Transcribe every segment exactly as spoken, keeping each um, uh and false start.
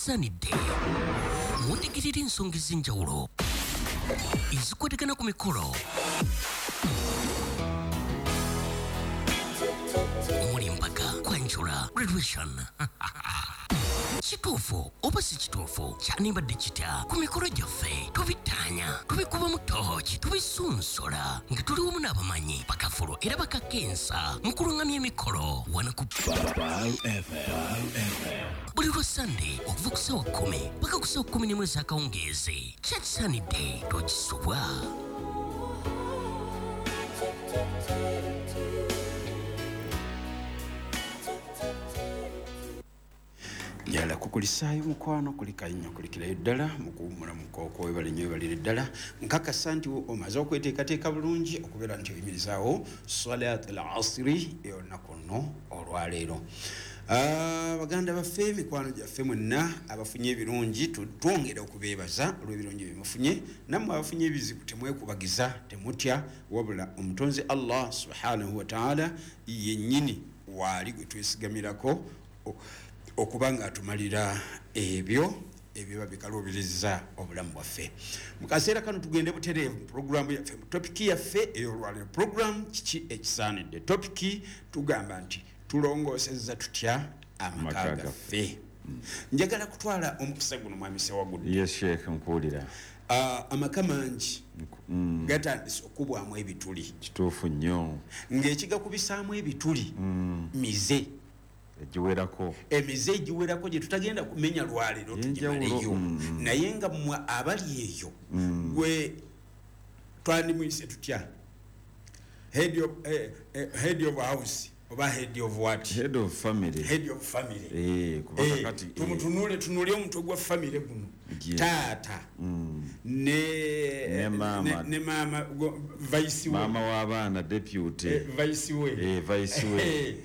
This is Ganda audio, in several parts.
Kyakisaanidde mutegerera ensonga ez'enjawulo ezikwatagana ku mikolo omuli embaga, kwanjula, graduation. Kituufu oba si kituufu, kyandibadde kitya ku mikolo gyaffe? Tubitaanya, tubikubamu tooki, tubisunsola nga tuli wamu n'abamanyi bakafulu era bakakensa mu kulungamya emikolo wano ku buli lwa Sande okuva ku ssaawa kkumi paka ku ssaawa kkumi n'emu ez'akawungeezi. Kyakisaanidde tokisubwa. Njala kukulisaayo mukwano, kulikayo nnyo, kulikirayo ddala mukuwummula mukooko, webale nnyo, webalire ddala. Nkakasa nti omaze okweteekateeka bulungi okubeera nti oyimirizaawo salat al asiri ey'olunaku luno olwaleero. Ah, baganda baffe, mikwano gyaffe mwenna abafunye ebirungi, twongera okubeebaza olw'ebirungi bye mufunye. Nammwe abafunye ebizibu temwekubagiza, temutya, wabula omutonzi Allah subhanahu wa ta'ala yennyini waali gwe twesigamirako okuba nga atumalira ebyo ebiba bikaluubiriza obulamu bwaffe. Mu kaseera kano tugende butereevu mu puroguramu yaffe, mu topiki yaffe ey'olwaleero. Puroguramu kiki ekisaanidde? Topiki tugamba nti tulongoosezza tutya amaka gaffe. Njagala kutwala omukisa guno, mwami Ssewagudde. Yes Sheikh, nkuwulira. Amaka mangi gatandise okubwamu ebituli. Kituufu nnyo. Ng'ekigakubisaamu ebituli mize egiwerako, emize egiwerako gye tutagenda kumenya lwaleero tugimaleyo, naye nga mmwe abali eyo gwe twandimuyise tutya? Head of, eh, eh, head of house oba head of what? Head of family. Head of family. Eh, kubanga kati tumutunule, tunule omutwe gwa family guno. Taata ne ne mama, ne mama vice we, mama w'abaana deputy, eh, vice we, eh, vice we.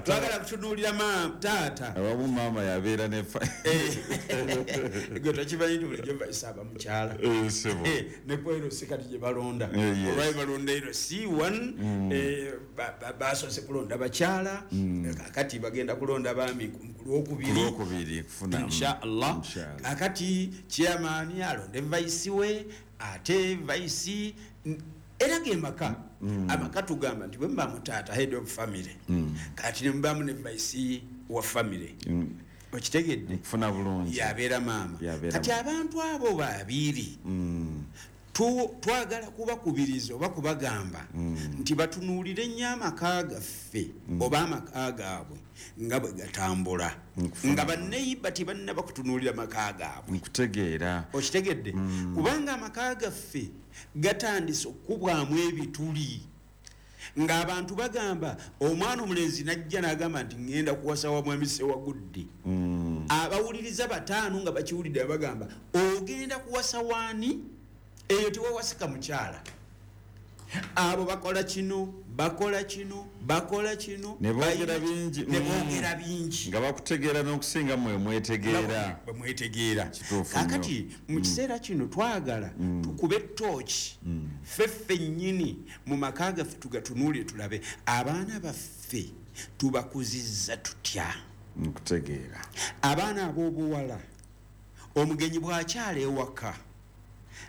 Twagala kutunuulira maama taata. Awamu maama yabeera ne gwe tokimanyi nti bulijjo vice aba mukyala. Ne ku L C kati gye balonda, olwali balonda L C one, basoose kulonda bakyala, kakati bagenda kulonda baami ku lwokubiri inshallah. Kakati chairman alonde vice we, ate vice era ge maka. Amaka tugamba nti bwe mba mutaata head of family, kati ne mbamu ne vice wa family, okitegedde kufuna bulungi, yabeera maama. Kati abantu abo babiri twagala kubakubiriza oba kubagamba nti batunuulire nnyo amaka gaffe oba amaka gaabwe nga bwe gatambula, nga banneyiba tebannaba kutunuulira maka gaabwe. Nkutegeera. Okitegedde? Kubanga amaka gaffe gatandise okubwamu ebituli, ng'abantu bagamba omwana omulenzi najja n'agamba nti ŋŋenda kuwasa wa mwami Ssewagudde. Abawuliriza bataano nga bakiwulidde bagamba ogenda kuwasa waani? Eyo tewawasika mukyala. Abo bakola kino, bakola kino, bakola kino, ne boogera bingi, ne boogera bingi nga bakutegeera n'okusinga mmwe mwetegeera. Bwe mwetegeera. Kakati mu kiseera kino twagala tukube ttooki ffe ffennyini mu maka gaffe tugatunuulire, tulabe abaana baffe tubakuzizza tutya. Nkutegeera. Abaana ab'obuwala, omugenyi bw'akyala ewaka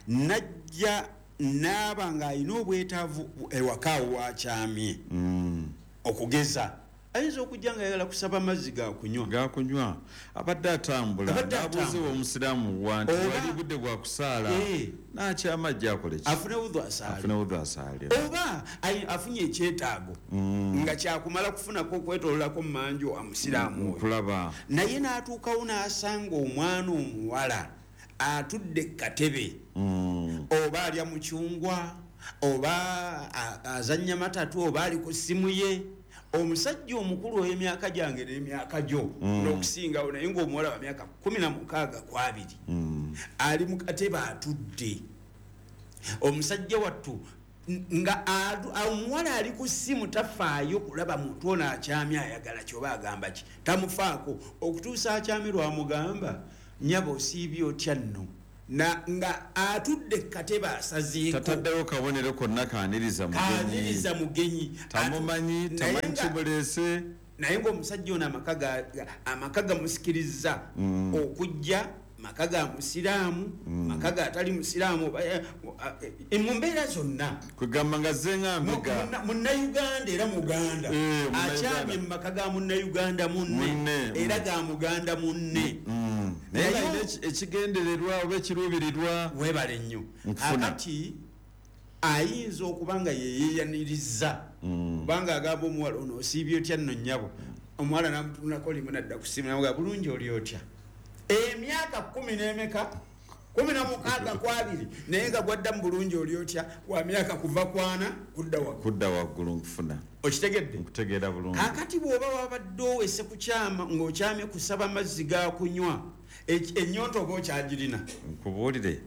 najja naaba ng'alina obwetaavu ewaka awo wakyamye, okugeza ayinza okujja nga ayagala kusaba amazzi ga kunywa, ga kunywa, abadde atambula n'abuuziwa omusiraamu wa nti wali budde bwa kusaala, n'akyama ajja akole ki? Afune wudhu asaale, afune wudhu asaale, oba afunye ekyetaago nga kyakumala kufunako okwetoololako mu manju amusiraamu oyo, nkulaba. Naye n'atuukawo n'asanga omwana omuwala atudde katebe, oba alya mucungwa, oba azannya matatu, oba ali ku ssimu ye. Omusajja omukulu ow'emyaka gyange n'emyaka gyo n'okusingawo, naye ng'omuwala wa myaka kkumi na mukaaga ku abiri ali mu katebe atudde. Omusajja wattu nga omuwala ali ku ssimu tafaayo kulaba muntu ono akyamye ayagala ki oba agamba ki, tamufaako okutuusa akyamye lwamugamba nnyabo osiibye otya nno, na nga atudde katebe asazeeko, tataddewo kabonero konna kaaniriza mugenyi, kaaniriza mugenyi, tamumanyi, tamanyi kimuleese. Naye ng'omusajja ono amaka gamusikiriza mm. okujja, maka ga musiraamu, mm. maka ga atali musiraamu, mu mbeera zonna. Kugamba nga zenga mbega. Munnayuganda era Muganda. E, akyamye mu maka ga munnayuganda munne, era ga Muganda munne. Mm. Naye ekigendererwa oba ekiruubirirwa. Weebale nnyo. Akati ayinza okuba nga yeeyaniriza. Kubanga agamba omuwala ono osiibye otya nno nnyabo. Omuwala n'amutunulako limu n'adda ku ssimu n'amugamba bulungi oli otya. Emyaka kumi n'emeka kumi na mukaaga ku abiri naye nga gwadda mu bulungi oli otya wa myaka kuva kwana kudda waggulu. Kudda waggulu nkufuna. Okitegedde? Nkutegeera bulungi. Kaakati bw'oba wabadde owese kukyama ng'okyamye kusaba mazzi ga kunywa, ennyonta oba okyagirina. Nkubuulire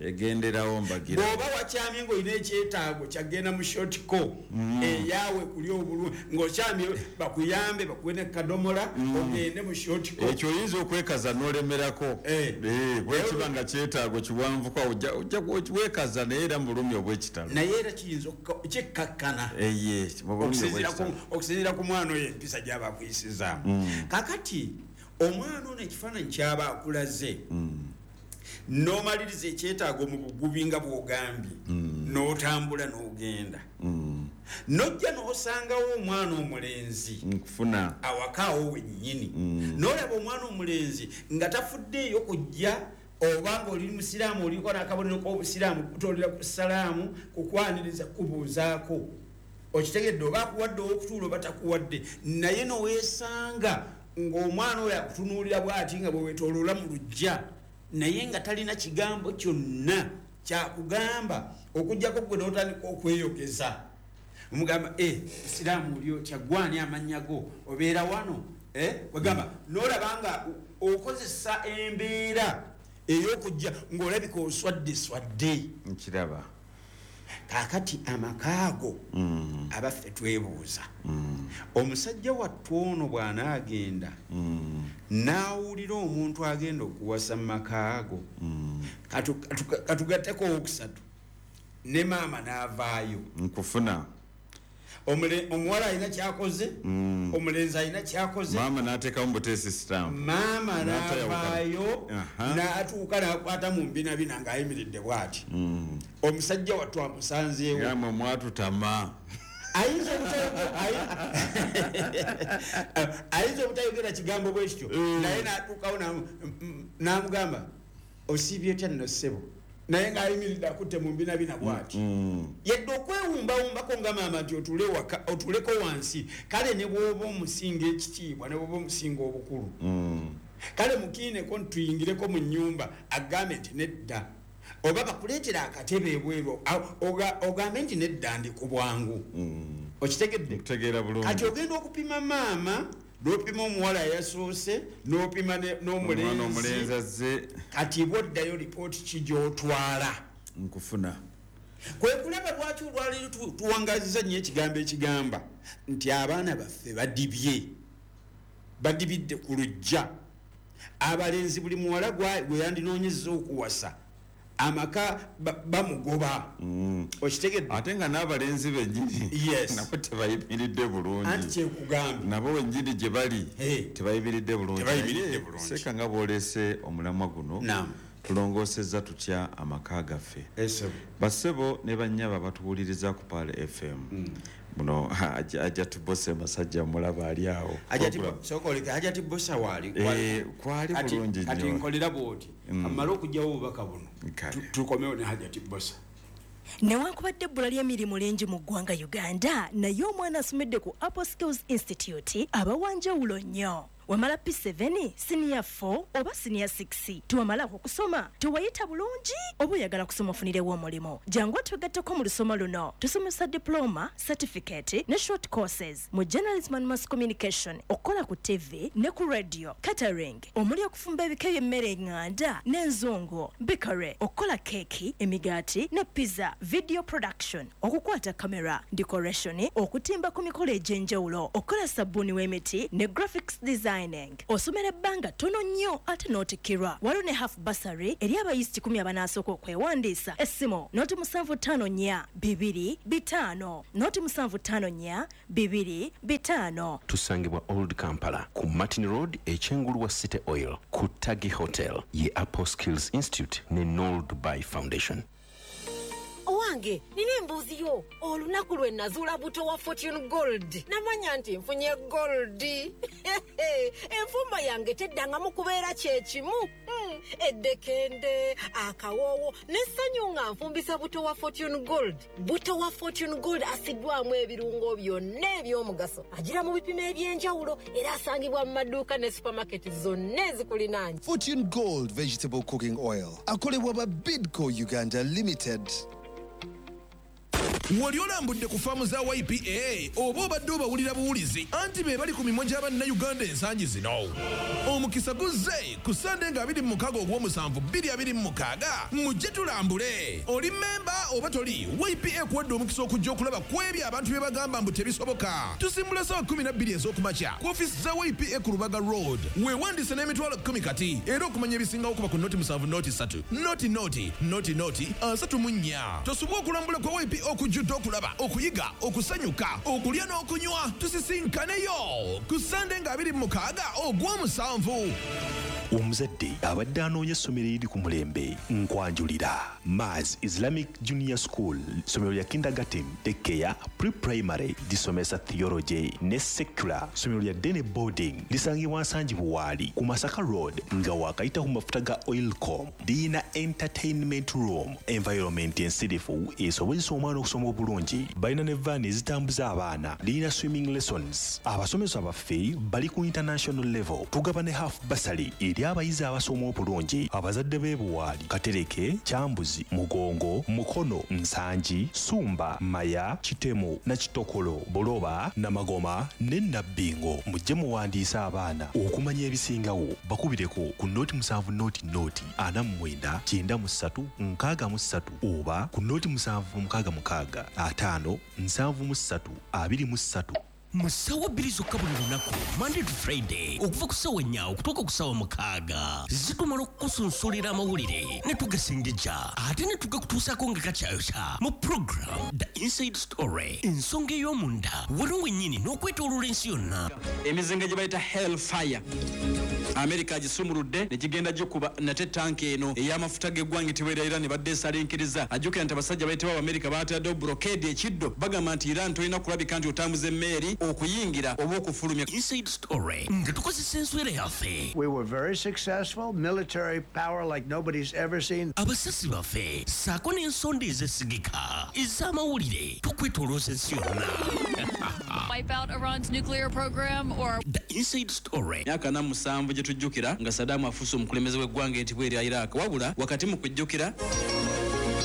egenderawo mbagira. Bw'oba wakyamye ng'olina ekyetaago kyagenda mu shortco eyaawe kuli obulungi ng'okyamye bakuyambe bakuwe ne kadomola ogende mu shortco. Ekyo oyinza okwekaza n'olemerako. Bwe kiba nga kyetaago kiwanvuko ojja wekaza naye era mu bulumi obw'ekitalo. Naye era kiyinza kikkakkana. Okusinziira ku mwana oyo empisa gy'aba akuyisizaamu. Kaakati omwana ono ekifaananyi ky'aba akulaze n'omaliriza ekyetaago mu bugubi nga bw'ogambye n'otambula n'ogenda n'ojja n'osangawo omwana omulenzi nkufuna awakaawo wennyini n'olaba omwana omulenzi nga tafuddeeyo kujja oba ng'oli musiraamu oliko n'akabonero k'obusiraamu kutoolera ku salaamu kukwaniriza kubuuzaako okitegedde oba akuwadde ow'okutuula oba takuwadde naye n'oweesanga ng'omwana oyo akutunuulira bw'ati nga bwe weetooloola mu luggya naye nga talina kigambo kyonna kyakugamba okuggyako gwe n'otandika okweyogeza omugamba e musiraamu oli otya gwani amannya go obeera wano wegamba n'olaba nga okozesa embeera ey'okujja ng'olabika oswadde swadde. Nkiraba. Kaakati amaka ago abaffe twebuuza omusajja wattu ono bw'anaagenda n'awulira omuntu agenda okuwasa mu maka ago katugatteko owokusatu ne maama n'avaayo. Nkufuna. Omuwala alina kyakoze, omulenzi alina kyakoze. Maama n'ateekamu buteesi stamp. Maama n'avaayo n'atuuka n'akwata mu mbinabina ng'ayimiridde bw'ati. Omusajja wattu amusanzeewo. Yamwe mwatutama. Ayinza obutayogera kigambo bwe kityo naye n'atuukawo n'amugamba osiibye otya nno ssebo naye ng'ayimiridde akutte mu mbinabina bw'ati. Yadde okwewumbawumbako nga maama nti otuuleko wansi kale ne bw'oba omusinga ekitiibwa ne bw'oba omusinga obukulu kale mukiineko ntuyingireko mu nnyumba agambe nti nedda oba bakuleetera akatebe ebweru ogambe nti nedda ndi ku bwangu. Okitegedde? Nkutegeera bulungi. Kati ogenda okupima maama n'opima omuwala eyasoose n'opima n'omulenzi azze. Kati bw'oddayo lipooti ki gy'otwala? Nkufuna. Kwe kulaba lwaki olwaleero tuwangazizza nnyo ekigambo ekigamba nti abaana baffe badibye badibidde ku luggya. Abalenzi buli muwala gwe yandinoonyezza okuwasa amaka bamugoba. Okitegedde? Ate nga n'abalenzi bennyini nabo tebayimiridde bulungi. Anti kyekugambye nabo bennyini gye bali tebayimiridde bulungi. Seeka nga bw'oleese omulamwa guno tulongoosezza tutya amaka gaffe. Bassebo ne bannyabo batuwuliriza ku Pearl F M. Muno Hajati Bosa masajja mulaba ali awo. Hajati Bosa waali kwali bulungi nnyo. Kati nkolera bw'oti amale okuggyawo obubaka buno tukomewo ne Hajati Bosa. Newankubadde ebbula ly'emirimu lingi mu ggwanga Uganda naye omwana asomedde ku Apple Skills Institute aba wa njawulo nnyo. Wamala P seven, senior four oba senior six. Tuwamalako okusoma, tewayita bulungi oba oyagala kusoma ofunirewo omulimu. Jangu twegatteko mu lusoma luno. Tusomesa diploma, certificate ne short courses mu journalism and mass communication, okukola ku T V ne ku radio, catering, omuli okufumba ebika by'emmere eŋŋanda n'enzungu, bakery, okukola keeki, emigaati ne pizza, video production, okukwata kamera, decoration, okutimba ku mikolo egy'enjawulo, okukola sabbuuni w'emiti ne graphics design. designing. Osomera ebbanga ttono nnyo ate n'otikkirwa. Waliwo ne half bursary eri abayizi kikumi abanaasooka okwewandiisa. Essimu noti musanvu ttaano nnya bibiri bitaano noti musanvu ttaano nnya bibiri bitaano. Tusangibwa Old Kampala ku Martin Road ekyengulu wa City Oil ku Tagi Hotel ye Apple Skills Institute ne Noel Dubai Foundation. Owange, nina embuzi yo. Olunaku lwe nazuula buto wa Fortune Gold. Namanya nti nfunye gold. Enfumba yange teddangamu kubeera kyekimu. Mm, eddekende, akawoowo, n'essanyu nga nfumbisa buto wa Fortune Gold. Buto wa Fortune Gold asiddwamu ebirungo byonna eby'omugaso. Agira mu bipimo eby'enjawulo era asangibwa mu maduuka ne supermarket zonna ezikulinaanye. Fortune Gold Vegetable Cooking Oil. Akolebwa ba Bidco Uganda Limited. Wali olambudde ku faamu za Y P A oba obadde obawulira buwulizi anti be bali ku mimwa gy'abannayuganda ensangi zino. Omukisa guzze ku Sande nga abiri mu mukaaga ogw'omusanvu bbiri abiri mu mukaaga mujje tulambule. Oli mmemba oba toli, Y P A ekuwadde omukisa okujja okulaba ku ebyo abantu bye bagamba mbu tebisoboka. Tusimbula ssaawa kkumi na bbiri ez'okumakya ku ofiisi za Y P A ku Lubaga Road. Weewandiise n'emitwalo kkumi kati era okumanya ebisingawo kuba ku noti musanvu noti ssatu noti noti noti noti asatu mu nnya. Tosubwa okulambula kwa Y P A okujjudde okulaba, okuyiga, okusanyuka, okulya n'okunywa. Tusisinkaneyo ku Sande nga abiri mu mukaaga ogw'omusanvu. Omuzadde abadde anoonya essomero eriri ku mulembe nkwanjulira Mars Islamic Junior School, ssomero lya kindergarten, daycare, pre-primary, lisomesa theology ne secular. Ssomero lya Dene boarding lisangibwa Nsangi Buwaali ku Masaka Road nga waakayita ku mafuta ga Oilcom. Liyina entertainment room, environment ensirifu esobozesa omwana okusoma obulungi. Balina ne vaani ezitambuza abaana. Liyina swimming lessons. Abasomesa baffe bali ku international level. Tugaba ne half bursary eri abayizi abasoma obulungi. Abazadde b'e Buwaali, Katereke, Kyambuzi, Mugongo, Mukono, Nsangi, Sumba, Maya, Kitemu, Nakitokolo, Buloba, Namagoma ne Nabbingo. Mujje muwandiise abaana okumanya ebisingawo. Bakubireko ku noti musanvu noti noti ana mu mwenda kyenda mu ssatu nkaaga mu ssatu oba ku noti musanvu mukaaga mukaaga ataano nsanvu mu ssatu abiri mu ssatu. Mu ssaawa bbiri zokka buli lunaku Monday to Friday okuva ku ssaawa nnya okutuuka ku ssaawa mukaaga zitumala okukusunsulira amawulire ne tugasengejja ate ne tugakutuusaako nga kakyayokya mu program The Inside Story, ensonga ey'omunda wano wennyini n'okwetooloola ensi yonna. Emizinga gye bayita Hellfire Amerika agisumuludde ne gigenda gikuba nate tanka eno ey'amafuta g'eggwanga etibwera Iran badde esalinkiriza. Ajjukira nti abasajja bayitibwa Abamerika baataddewo blockade ekiddo, bagamba nti Iran tolina kulabika nti otambuza emmeeri okuyingira oba okufulumya. Inside Story nga tukozesa enswera yaffe. We were very successful, military power like nobody's ever seen. Abasasi baffe ssaako n'ensonda ezesigika ez'amawulire tukwetoolooza ensi yonna. Wipe out Iran's nuclear program or The Inside Story. Myaka ana mu musanvu gye tujjukira nga Saddam afuuse omukulembeze w'eggwanga etibwa erya Iraq. Wabula wakati mu kujjukira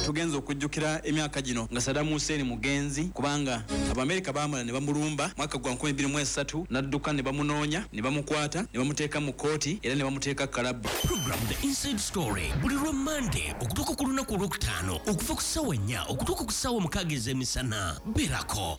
tugenza okujjukira emyaka gino nga Saddam Hussein mugenzi, kubanga Abamerika baamala ne bamulumba mwaka gwa nkumi bbiri mu esatu n'adduka ne bamunoonya ne bamukwata ne bamuteeka mu kkooti era ne bamuteeka kalabba. Program The Inside Story buli lwa Monday okutuuka ku lunaku olwokutaano okuva ku ssaawa nnya okutuuka ku ssaawa mukaaga ez'emisana. Beerako.